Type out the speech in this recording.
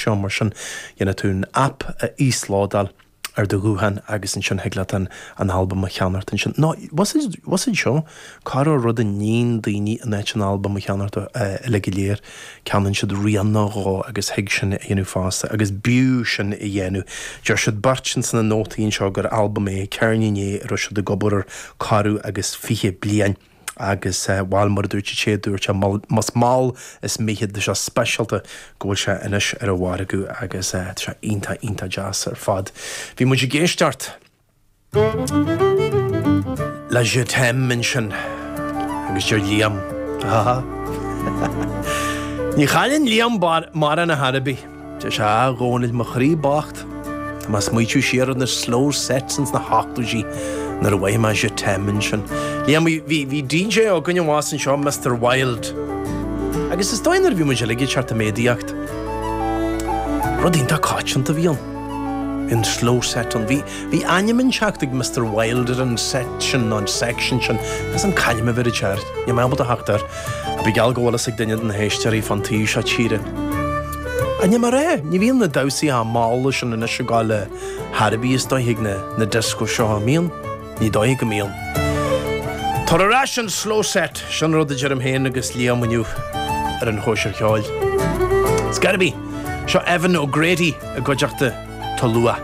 seo, mar sin dhéanfaidh tú an app a íoslódáil ar do ghuthán agus ansin thig leat an albam a cheannacht ansin. Nó, bhfuil fhios a'd seo, corruair rud a níonn daoine in áit an albam a cheannacht uilig go léir, ceannaíonn siad rian nó dhó agus thig sin a dhéanamh fosta agus b'fhiú sin a dhéanamh. Deir siad beirt ins na nótaí anseo gur albam é, ceirnín é a raibh siad ag obair air corradh agus 20 bliain. Agus, bhail, mar a dúirt an té a dúirt é, más mall is mithid, tá sé speisialta go bhfuil sé anois ar an mhargadh agus tá sé iontach, iontach deas ar fad. Bhí muid ag éisteacht le Je t'aime ansin agus deir Liam, ha ha, ní chailleann Liam mórán ar chor ar bith. Deir sé, a Dhónaill, mo chroí bocht, tá mé ag smaoitiú siar ar na slow sets ins na hochtóidí nuair a mhothaigh mé je t'aime ansin. Liam, bhí, bhí DJ againn abhus anseo, Mr Wilde. Agus is dóigh nuair a bhí muid uilig ag teacht i méadaíocht, rud iontach coitianta a bhí ann, bhí an slow set ann. Bhí, bhí ainm inteacht ag Mr Wilde ar an set sin nó an section sin, is an c'ainm a bheirid air, níl mé ábalta theacht air. Ba gheall go bhfuil fhios ag duine de na héisteoirí fán taobh seo tíre. Ach ní mar é, ní bhíonn na damhsaí chomh mall sin anois ag gabháil ar chor ar bith is dóigh ag na discos seo, an mbíonn? Ní dóigh go mbíonn. Tabhair ar ais an slow set, sin rud a deirim féin agus Liam inniu ar an chóisir cheoil. Ar scor ar bith, seo Evan O'Grady i gcuideachta Tulua.